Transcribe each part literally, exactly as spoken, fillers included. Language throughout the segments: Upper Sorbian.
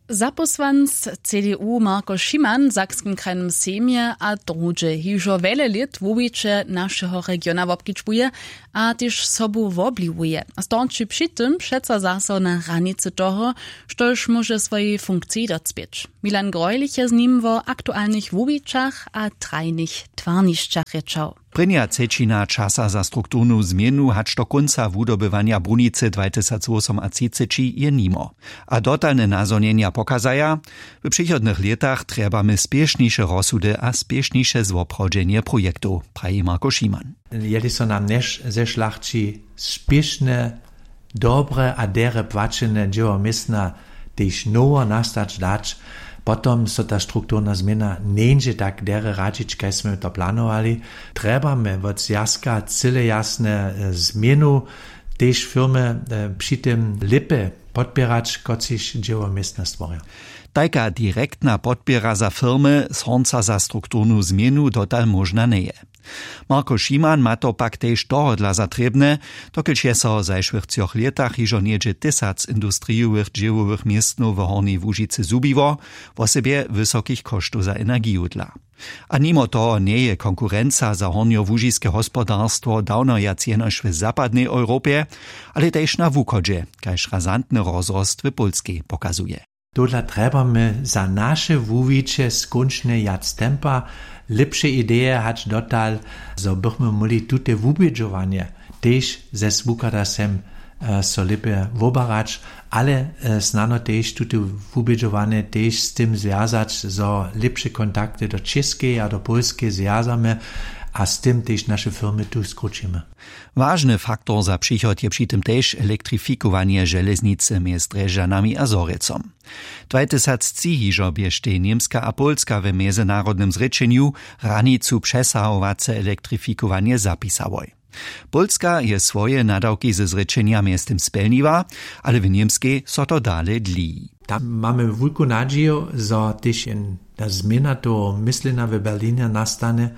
Zapósłanc cdu marko šiman w sakskim krajnym sejmje a druhdźe hižo wjele lět wuwiće našeho regiona wobkedźbuje, a tež sobu wobliwowuje, storči při tym přeco zaso na hranicy toho, štož móže swojej funkciji docpěć. Milan grojlich je z nim wo aktualnych wuwićach a trajnych twarnišćach rěčał. Prěnja třećina časa za strukturnu změnu hač do kónca wudobywanja brunicy dwatysacwosomatřiceći je nimo, a dotalne nazhonjenja pokazaja: „W přichodnych lětach trjebamy spěšniše rozsudy a spěšniše zwoprawdźenje projektow“, praji marko šiman. Jeli so nam zešlachći spěšne, dobre a derje płaćene dźěło městna tež nowo nastać dać, potom so ta strukturna změna njeńdźe tak derje radźić, kaž smy to planowali. Trjebamy wot zwjazka cyle jasne změnu, tež firmy při tym lěpje podpěrać, kotřiž dźěło městna stworja. Tajka direktna podpěra za firmy słonca za strukturnu změnu dotal móžna njeje. Marko šiman ma to pak tež tohodla za trěbne, dokelž je so w zašłych třoch lětach hižo něhdźe tysac industrijowych dźěłowych městnow w hornjej łužicy zhubiło, wosebje wysokich koštow za energiju dla. A nimo toho njeje konkurenca za hornjołužiske hospodarstwo dawno wjac jenož w zapadnej europje, ale tež na wuchodźe, kaž razantny rozrost w pólskej pokazuje. Tohodla trjebamy za naše wuwiće skónčnje wjac tempa, lěpše ideje hač dotal, zo bychmy móhli tute wubědźowanje tež zes wuchada sem so lěpje wobarać, ale snano tež tute wubědźowanje tež z tym zwjazać, zo lěpše kontakty do čěskeje a do pólskeje zwjazamy, a z tym tež naše firmy tu skrućimy. Wažny faktor za přichod je při tym tež elektrifikowanje železnicy mjez drježdźanami a zhorjelcom. Dwatysactři hižo běštej němska a pólska w mjezynarodnym zrěčenju hranicu přesahowace elektrifikowanje zapisałoj. Pólska je swoje nadawki ze zrěčenja mjeztym spjelniła, ale w němskej so to dale dliji. Tam mamy wulku nadźiju, zo tež jedna změna toho myslenja w berlinje nastanje,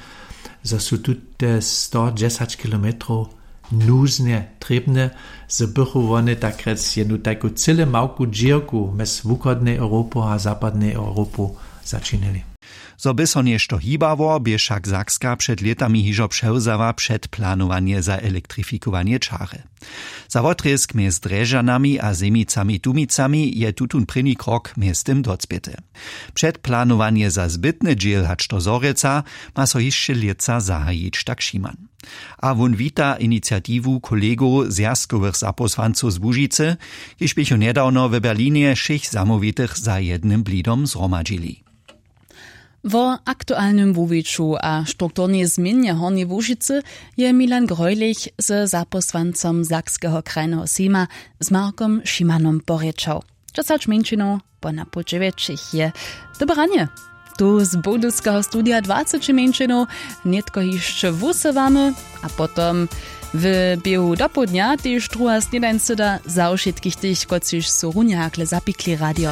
zo su tute sto dźesać kilometrow nuznje trěbne, zo bychu wone takrjec jednu tajku cyle małku dźěrku mjez wuchodnej europu a zapadnej europu začinili. Zo by so něšto hibało, bě wšak sakska před lětami hižo přewzała předplanowanje za elektrifikowanje čary. Za wotrězk mjez drježdźanami a zemicami tumicami je tutón prěni krok mjeztym docpěty. Předplanowanje za zbytny dźěl hač do zhorjelca ma so hišće lětsa zahajić, tak šiman. A wón wita iniciatiwu kolegow zwjazkowych zapósłancow z łužicy, kiž běchu njedawno w berlinje wšěch zamołwitych za jednym blidom zhromadźili. Wo aktualnym wuwiću a strukturnej změnje hornjeje łužicy je milan grojlich ze zapósłancom sakskeho krajneho sejma, z markom šimanom porěčał. Dźesać mjeńšinow po na pół dźewjećich je. Dobre ranje. Tu z budyšskeho studija dwaceći mjeńšinow nětko hišće wusywamy, a potom w běhu dopołdnja tež druha snědań syda za wšitkich tych, kotřiž su runje hakle zapikli radio.